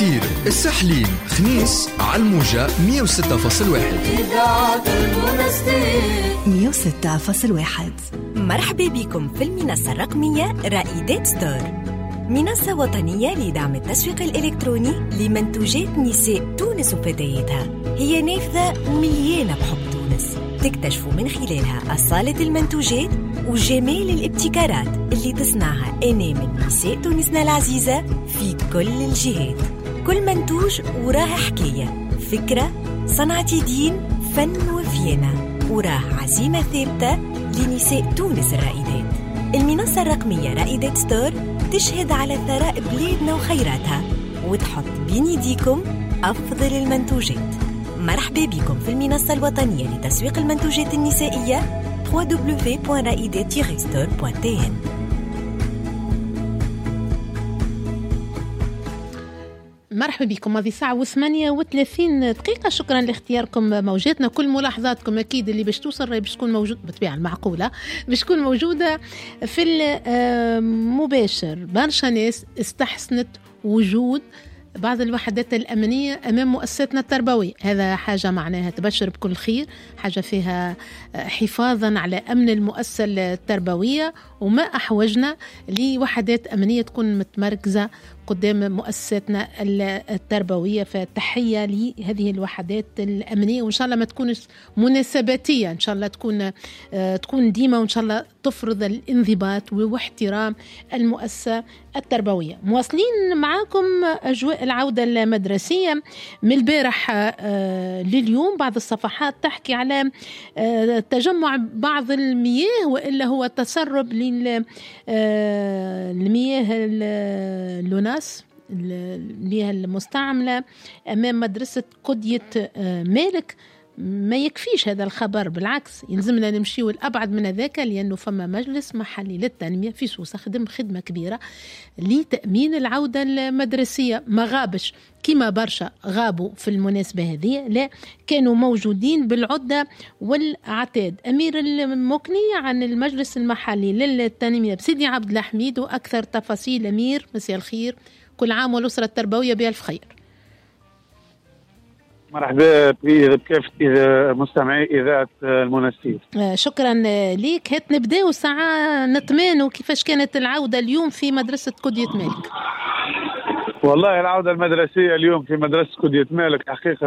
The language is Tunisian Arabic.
المنستير، الساحلين، خنيس، على الموجة 106.1. إذاعة المنستير 106.1. مرحبا بكم في المنصة الرقمية رائدات ستور، منصة وطنية لدعم التسويق الإلكتروني لمنتوجات نساء تونس وفتياتها. هي نافذة مليانة بحب تونس، تكتشفوا من خلالها أصالة المنتوجات وجمال الابتكارات اللي تصنعها أنامل نساء تونسنا العزيزة في كل الجهات. كل منتوج وراه حكاية، فكرة، صنعة دين، فن وفيانة، وراه عزيمة ثابتة لنساء تونس الرائدات. المنصة الرقمية رائدات ستور تشهد على ثراء بلادنا وخيراتها وتحط بين يديكم أفضل المنتوجات. مرحبا بكم في المنصة الوطنية لتسويق المنتوجات النسائية www.raidat-store.tn. مرحبا بكم، هذه ساعة و38. شكرا لاختياركم موجاتنا. كل ملاحظاتكم أكيد اللي باش توصل باش تكون موجود بالطبيعة المعقولة، باش تكون موجودة في المباشر. برشا ناس استحسنت وجود بعض الوحدات الأمنية أمام مؤسساتنا التربوية، هذا حاجة معناها تبشر بكل خير، حاجة فيها حفاظا على أمن المؤسسة التربوية، وما أحوجنا لوحدات أمنية تكون متمركزة قدام مؤسساتنا التربوية. فتحية لهذه الوحدات الأمنية، وإن شاء الله ما تكونش مناسباتية، إن شاء الله تكون ديما، وإن شاء الله تفرض الانضباط واحترام المؤسسة التربوية. مواصلين معاكم أجواء العودة المدرسية من البارح لليوم. بعض الصفحات تحكي على تجمع بعض المياه، وإلا هو تسرب للمياه اللوناس، المياه المستعملة أمام مدرسة قدية مالك. ما يكفيش هذا الخبر، بالعكس يلزمنا نمشيو الأبعد من هذاك، لأنه فما مجلس محلي للتنمية في سوسة خدم خدمة كبيرة لتأمين العودة المدرسية. ما غابش كما برشا غابوا في المناسبة هذه، لا كانوا موجودين بالعدة والعتاد. أمير المكني عن المجلس المحلي للتنمية بسيدي عبد الحميد، وأكثر تفاصيل. أمير، مساء الخير، كل عام والأسرة التربوية بألف خير. مرحبا بكافة مستمعي إذاعة المنستير. شكرا ليك. هات نبداو ساعة نطمانوا كيفاش كانت العودة اليوم في مدرسة كودية مالك. والله العودة المدرسية اليوم في مدرسة كودية مالك حقيقة